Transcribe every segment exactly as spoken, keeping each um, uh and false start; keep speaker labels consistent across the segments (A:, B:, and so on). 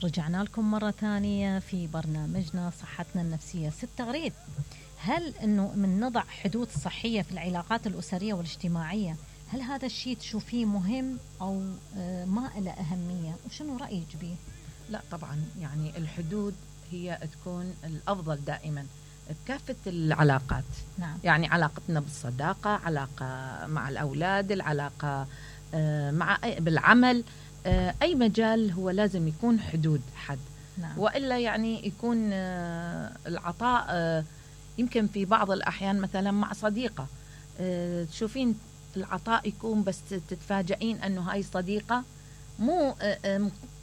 A: رجعنا لكم مرة ثانية في برنامجنا صحتنا النفسية. ست تغريد، هل أنه من نضع حدود صحية في العلاقات الأسرية والاجتماعية، هل هذا الشيء تشوفيه مهم أو ما له أهمية؟ وشنو رأيك به؟
B: لا طبعا، يعني الحدود هي تكون الأفضل دائما بكافة العلاقات.
A: نعم.
B: يعني علاقتنا بالصداقة، علاقة مع الأولاد، العلاقة مع بالعمل، أي مجال هو لازم يكون حدود حد.
A: نعم.
B: وإلا يعني يكون العطاء يمكن في بعض الأحيان مثلا مع صديقة تشوفين العطاء يكون بس تتفاجئين أنه هاي صديقة مو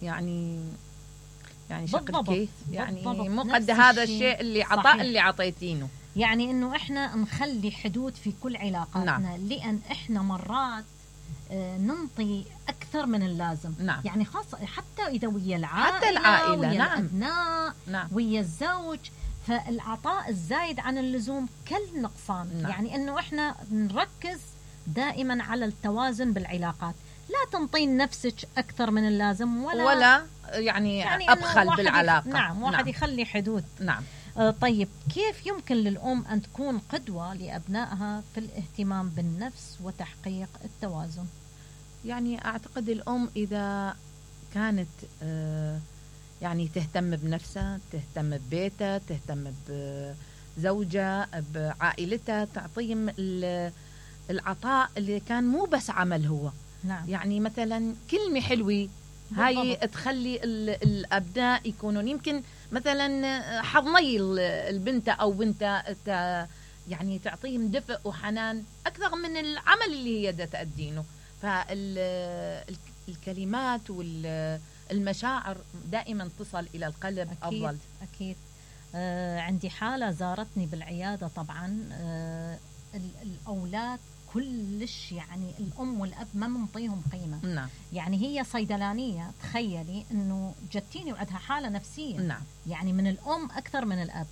B: يعني يعني شكل كيف يعني مو قد هذا الشيء اللي عطاء اللي عطيتينه.
A: يعني انه احنا نخلي حدود في كل علاقاتنا.
B: نعم.
A: لان احنا مرات ننطي اكثر من اللازم.
B: نعم.
A: يعني خاصه حتى اذا ويا العائله،
B: حتى العائله،
A: ويا
B: نعم.
A: الابناء،
B: نعم.
A: ويا الزوج، فالعطاء الزايد عن اللزوم كل نقصان.
B: نعم.
A: يعني انه احنا نركز دائما على التوازن بالعلاقات، لا تنطين نفسك اكثر من اللازم ولا
B: ولا يعني, يعني ابخل بالعلاقه.
A: نعم. واحد نعم. يخلي حدود.
B: نعم.
A: آه طيب، كيف يمكن للأم أن تكون قدوة لأبنائها في الاهتمام بالنفس وتحقيق التوازن؟
B: يعني أعتقد الأم إذا كانت آه يعني تهتم بنفسها، تهتم ببيتها، تهتم بزوجها، بعائلتها، تعطيهم العطاء اللي كان مو بس عمل هو.
A: نعم. يعني
B: مثلا كلمة حلوة هاي تخلي الأبناء يكونون يمكن مثلا حضني البنت أو بنت يعني تعطيهم دفء وحنان أكثر من العمل اللي هي دا تأدينه. فالكلمات والمشاعر دائما تصل إلى القلب.
A: أكيد.
B: أفضل.
A: أكيد. آه عندي حالة زارتني بالعيادة طبعا. آه الأولاد كلش يعني الأم والأب ما منطيهم قيمة.
B: نعم.
A: يعني هي صيدلانية، تخيلي أنه جتيني وعندها حالة نفسية.
B: نعم.
A: يعني من الأم أكثر من الأب.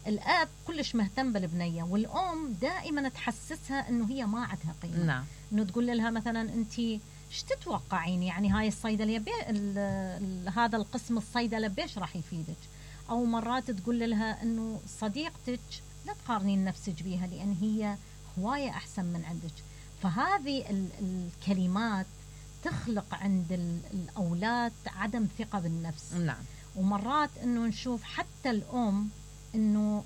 A: الأب كلش مهتم بالبنية، والأم دائما تحسسها أنه هي ما عندها قيمة.
B: نعم.
A: أنه تقول لها مثلا أنت ايش تتوقعين، يعني هاي الصيدلية بي ال ال هذا القسم الصيدلة بيش راح يفيدك. أو مرات تقول لها أنه صديقتك لا تقارنين نفسك بيها لأن هي هواية أحسن من عندك. فهذه الكلمات تخلق عند الأولاد عدم ثقة بالنفس.
B: نعم.
A: ومرات أنه نشوف حتى الأم أنه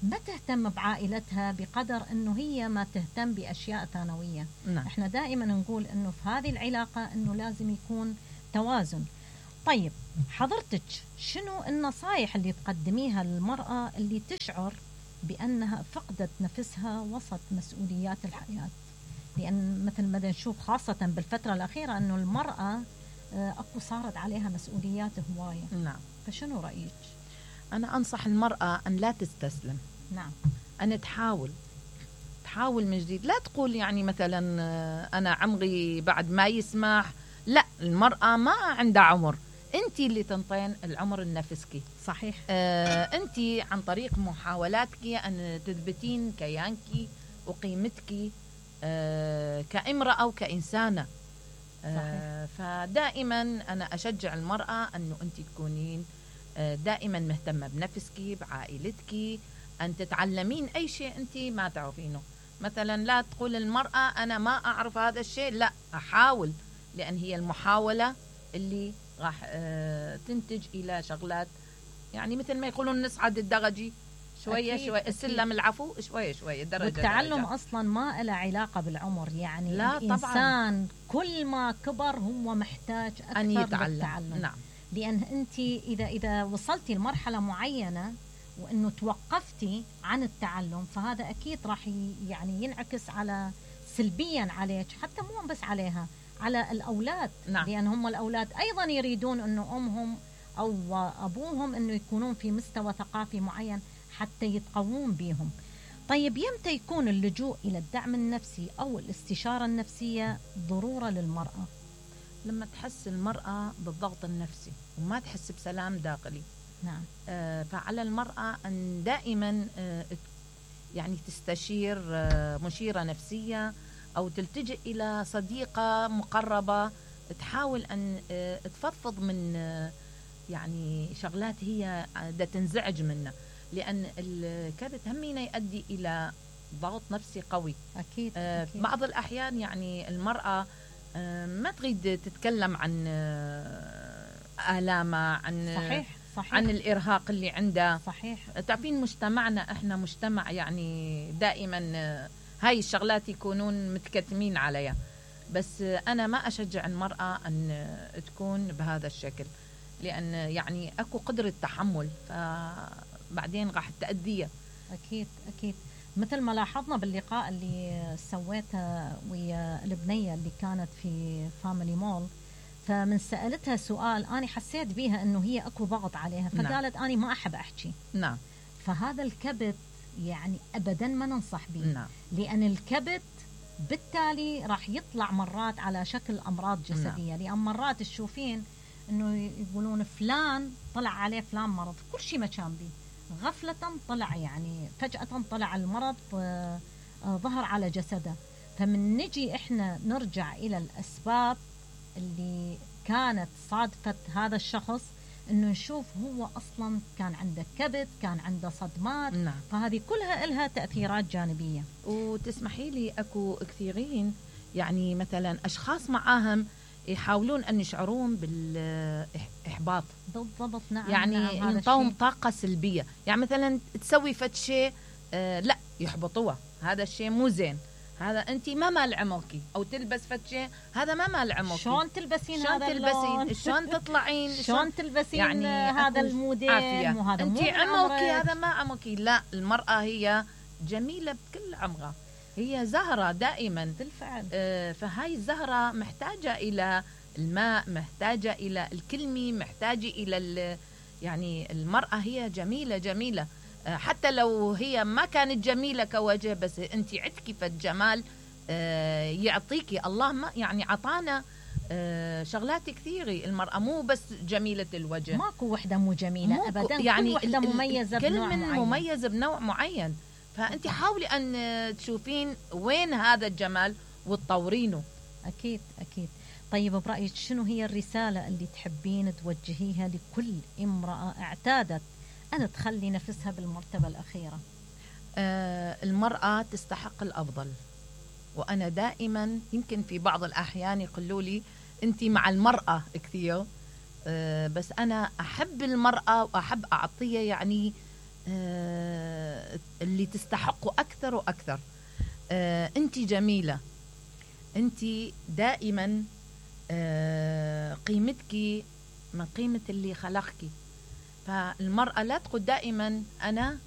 A: ما تهتم بعائلتها بقدر أنه هي ما تهتم بأشياء ثانوية.
B: نعم.
A: إحنا دائما نقول أنه في هذه العلاقة أنه لازم يكون توازن. طيب حضرتك شنو النصائح اللي تقدميها للمرأة اللي تشعر بأنها فقدت نفسها وسط مسؤوليات الحياة؟ لأن مثل ما نشوف خاصة بالفترة الأخيرة أنه المرأة أكو صارت عليها مسؤوليات هواية.
B: نعم.
A: فشنو رأيك؟
B: أنا أنصح المرأة أن لا تستسلم.
A: نعم.
B: أن تحاول تحاول من جديد. لا تقول يعني مثلا أنا عمري بعد ما يسمح. لا، المرأة ما عندها عمر، أنت اللي تنطين العمر لنفسك.
A: صحيح.
B: آه أنت عن طريق محاولاتك أن تثبتين كيانك وقيمتك آه كامرأة وكإنسانة. آه فدائما أنا أشجع المرأة أنه أنت تكونين آه دائما مهتمة بنفسك، بعائلتك، أن تتعلمين أي شيء أنت ما تعرفينه. مثلا لا تقول المرأة أنا ما أعرف هذا الشيء، لا، أحاول، لأن هي المحاولة اللي راح آه تنتج إلى شغلات. يعني مثل ما يقولون نصعد الدرجي شوية أكيد شوية، السلم العفو شوية شوية درجة.
A: والتعلم
B: درجة.
A: أصلا ما له علاقة بالعمر. يعني
B: لا
A: الإنسان طبعاً. كل ما كبر هو محتاج أكثر
B: أن يتعلم.
A: للتعلم.
B: نعم.
A: لأن أنت إذا إذا وصلتي لمرحلة معينة وإنه توقفتي عن التعلم، فهذا أكيد راح يعني ينعكس على سلبيا عليك، حتى مو بس عليها، على الأولاد.
B: نعم.
A: لأن هم الأولاد أيضا يريدون إنه أمهم أو أبوهم إنه يكونون في مستوى ثقافي معين حتى يتقوون بهم. طيب يمتى يكون اللجوء إلى الدعم النفسي أو الاستشارة النفسية ضرورة للمرأة؟
B: لما تحس المرأة بالضغط النفسي وما تحس بسلام داخلي.
A: نعم.
B: آه فعلى المرأة أن دائما آه يعني تستشير آه مشيرة نفسية أو تلتجئ إلى صديقة مقربة تحاول أن آه تفضفض من آه يعني شغلات هي دا تنزعج منه، لأن الكبت همينة يؤدي إلى ضغط نفسي قوي.
A: أكيد,
B: آه
A: أكيد.
B: بعض الأحيان يعني المرأة آه ما تريد تتكلم عن آه آلامها، عن
A: صحيح صحيح.
B: عن الإرهاق اللي عنده.
A: صحيح.
B: تعرفين مجتمعنا احنا مجتمع يعني دائما آه هاي الشغلات يكونون متكتمين عليها، بس آه أنا ما أشجع المرأة أن آه تكون بهذا الشكل، لأن يعني أكو قدرة تحمل، فبعدين راح تأذيها.
A: أكيد أكيد. مثل ما لاحظنا باللقاء اللي سويته ويا البنية اللي كانت في فاميلي مول، فمن سألتها سؤال أنا حسيت بيها أنه هي أكو ضغط عليها، فقالت نعم. أنا ما أحب أحكي.
B: نعم.
A: فهذا الكبت يعني أبدا ما ننصح به.
B: نعم.
A: لأن الكبت بالتالي راح يطلع مرات على شكل أمراض جسدية. نعم. لأن مرات تشوفين أنه يقولون فلان طلع عليه فلان مرض، كل شيء ما كان به، غفلة طلع يعني فجأة طلع المرض ظهر على جسده. فمن نجي إحنا نرجع إلى الأسباب اللي كانت صادفت هذا الشخص، إنه نشوف هو أصلا كان عنده كبت، كان عنده صدمات.
B: نعم.
A: فهذه كلها إلها تأثيرات جانبية.
B: وتسمحي لي أكو كثيرين يعني مثلا أشخاص معاهم يحاولون أن يشعرون بالإحباط.
A: بالضبط. نعم.
B: يعني
A: نعم.
B: ينطوهم طاقة سلبية، يعني مثلا تسوي فد شيء آه لا يحبطوها، هذا الشيء مو زين، هذا أنت ما مال عمرك، أو تلبس فد شيء هذا ما مال عمرك،
A: شلون تلبسين
B: شلون
A: هذا
B: تلبسين، شلون تطلعين،
A: شلون تلبسين
B: يعني
A: هذا الموديل،
B: وهذا أنت عمرك هذا ما عمرك. لا، المرأة هي جميلة بكل عمرها، هي زهرة دائما
A: بالفعل.
B: آه فهاي الزهرة محتاجة إلى الماء، محتاجة إلى الكلمة، محتاجة إلى يعني المرأة هي جميلة جميلة آه حتى لو هي ما كانت جميلة كوجه، بس أنت عندك فالجمال آه يعطيكي الله، ما يعني عطانا آه شغلات كثيرة. المرأة مو بس جميلة الوجه،
A: ماكو وحدة مو جميلة أبدا،
B: يعني
A: كل وحدة مميزة بنوع
B: كل من
A: معين.
B: مميزة بنوع معين. فأنت حاولي أن تشوفين وين هذا الجمال وتطورينه.
A: أكيد أكيد. طيب برأيك شنو هي الرسالة اللي تحبين توجهيها لكل امرأة اعتادت أن تخلي نفسها بالمرتبة الأخيرة؟
B: آه المرأة تستحق الأفضل، وأنا دائما يمكن في بعض الأحيان يقولوا لي أنت مع المرأة كثير، آه بس أنا أحب المرأة وأحب أعطيها يعني آه اللي تستحقه أكثر وأكثر. آه أنت جميلة، أنت دائما آه قيمتك من قيمة اللي خلقك. فالمرأة لا تقول دائما أنا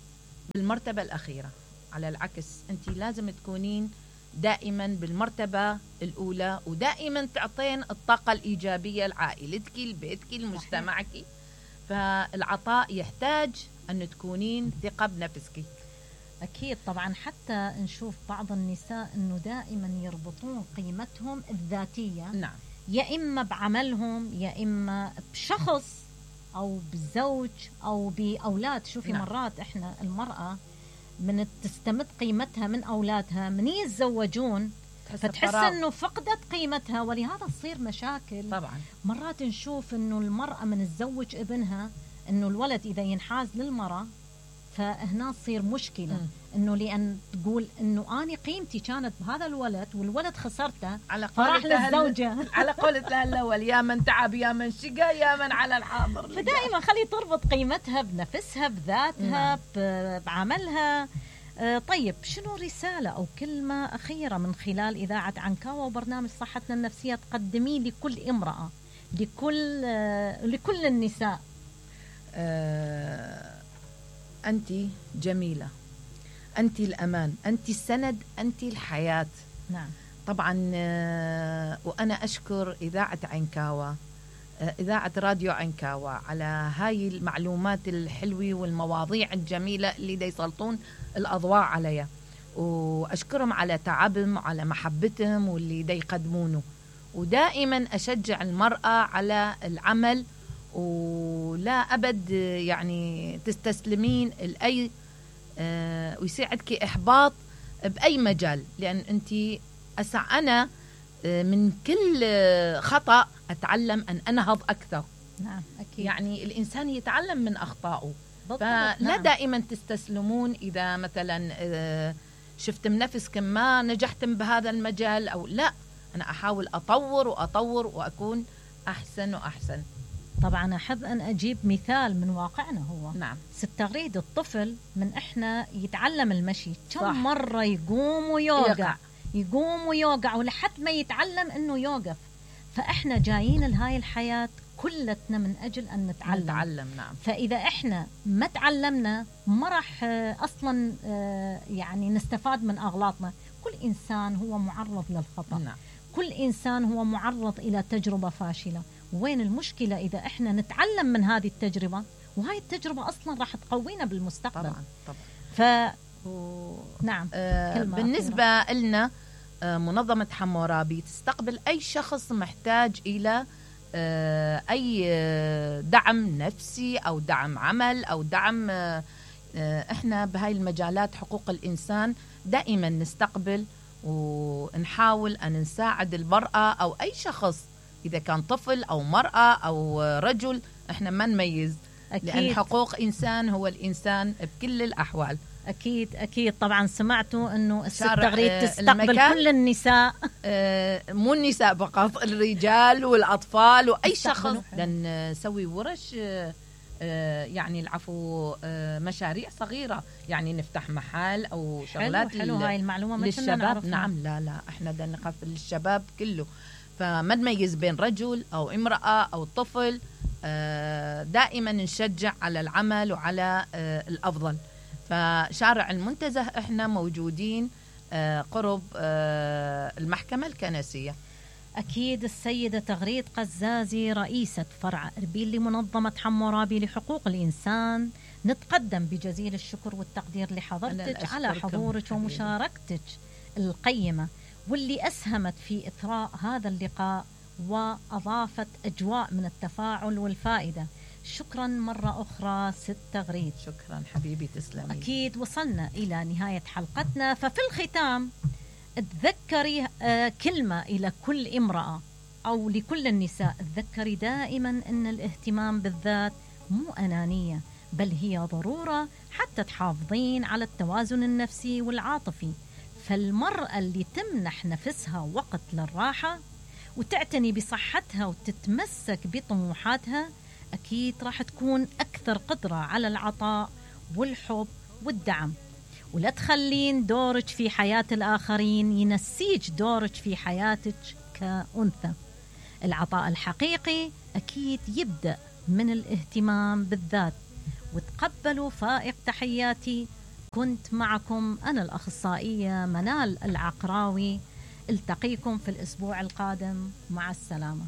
B: بالمرتبة الأخيرة، على العكس أنت لازم تكونين دائما بالمرتبة الأولى، ودائما تعطين الطاقة الإيجابية لعائلتك، لبيتك، لمجتمعك. فالعطاء يحتاج أن تكونين ثقة بنفسك.
A: أكيد طبعا. حتى نشوف بعض النساء أنه دائما يربطون قيمتهم الذاتية،
B: نعم،
A: يا إما بعملهم يا إما بشخص أو بزوج أو بأولاد. شوفي نعم. مرات إحنا المرأة من تستمد قيمتها من أولادها من يتزوجون، فتحس أنه فقدت قيمتها، ولهذا تصير مشاكل.
B: طبعا
A: مرات نشوف أنه المرأة من تزوج ابنها، أنه الولد إذا ينحاز للمرأة فهنا تصير مشكلة. م. انه لان تقول انه اني قيمتي كانت بهذا الولد والولد خسرته،
B: على
A: فراح للزوجة.
B: على قولة الاول يا من تعب يا من شقى يا من على الحاضر.
A: فدائما خلي تربط قيمتها بنفسها، بذاتها، م. بعملها. آه طيب شنو رسالة او كلمة اخيرة من خلال اذاعة عنكاوة وبرنامج صحتنا النفسية تقدمين لكل امرأة، لكل آه لكل النساء؟
B: آه أنت جميلة، أنت الأمان، أنت السند، أنت الحياة.
A: نعم
B: طبعا. وأنا أشكر إذاعة عنكاوة، إذاعة راديو عنكاوة، على هاي المعلومات الحلوة والمواضيع الجميلة اللي دا يسلطون الأضواء عليها، وأشكرهم على تعبهم وعلى محبتهم واللي دا يقدمونه. ودائما أشجع المرأة على العمل، ولا أبد يعني تستسلمين لأي آه ويساعدك إحباط بأي مجال، لأن أنت أسع أنا آه من كل آه خطأ أتعلم أن أنهض أكثر.
A: نعم أكيد.
B: يعني الإنسان يتعلم من أخطائه.
A: فلا
B: نعم. دائما تستسلمون إذا مثلا شفتم نفسكم ما نجحتم بهذا المجال أو لا، أنا أحاول أطور وأطور وأكون أحسن وأحسن.
A: طبعا أحب أن أجيب مثال من واقعنا. هو
B: نعم.
A: ست تغريد الطفل من إحنا يتعلم المشي كم مرة يقوم ويوقع يقع. يقوم ويوقع ولحد ما يتعلم أنه يوقف. فإحنا جايين لهاي الحياة كلتنا من أجل أن نتعلم.
B: نتعلم نعم.
A: فإذا إحنا ما تعلمنا ما راح أصلا يعني نستفاد من أغلاطنا. كل إنسان هو معرض للخطأ.
B: نعم.
A: كل إنسان هو معرض إلى تجربة فاشلة. وين المشكلة إذا إحنا نتعلم من هذه التجربة، وهاي التجربة أصلا راح تقوينا بالمستقبل.
B: طبعا طبعا.
A: ف و... نعم.
B: آه بالنسبة كلمة. لنا آه منظمة حمورابي تستقبل أي شخص محتاج إلى آه أي دعم نفسي أو دعم عمل أو دعم آه إحنا بهاي المجالات حقوق الإنسان دائما نستقبل ونحاول أن نساعد المرأة أو أي شخص، إذا كان طفل أو مرأة أو رجل، إحنا ما نميز. أكيد. لأن حقوق إنسان هو الإنسان بكل الأحوال.
A: أكيد أكيد. طبعا سمعتوا أنه الست تغريد تستقبل كل النساء،
B: مو النساء فقط، الرجال والأطفال وأي شخص. نسوي ورش يعني العفو مشاريع صغيرة، يعني نفتح محل أو شغلات.
A: حلو, حلو هاي المعلومة
B: للشباب. نعم. لا لا إحنا بدنا نقفل للشباب كله، فما نميز بين رجل أو امرأة أو طفل. دائما نشجع على العمل وعلى الأفضل. فشارع المنتزه إحنا موجودين قرب المحكمة الكنسية.
A: أكيد. السيدة تغريد قزازي رئيسة فرع إربيل لمنظمة حمورابي لحقوق الإنسان، نتقدم بجزيل الشكر والتقدير لحضرتك على حضورك ومشاركتك القيمة، واللي أسهمت في إثراء هذا اللقاء وأضافت أجواء من التفاعل والفائدة. شكرا مرة أخرى ست تغريد.
B: شكرا حبيبي، تسلمي.
A: أكيد. وصلنا إلى نهاية حلقتنا، ففي الختام تذكري كلمة إلى كل امرأة أو لكل النساء. تذكري دائما أن الاهتمام بالذات مو أنانية، بل هي ضرورة حتى تحافظين على التوازن النفسي والعاطفي. فالمرأة اللي تمنح نفسها وقت للراحة وتعتني بصحتها وتتمسك بطموحاتها أكيد راح تكون أكثر قدرة على العطاء والحب والدعم. ولا تخلين دورك في حياة الآخرين ينسيج دورك في حياتك كأنثى. العطاء الحقيقي أكيد يبدأ من الاهتمام بالذات. وتقبلوا فائق تحياتي. كنت معكم أنا الأخصائية منال العقراوي. التقيكم في الأسبوع القادم. مع السلامة.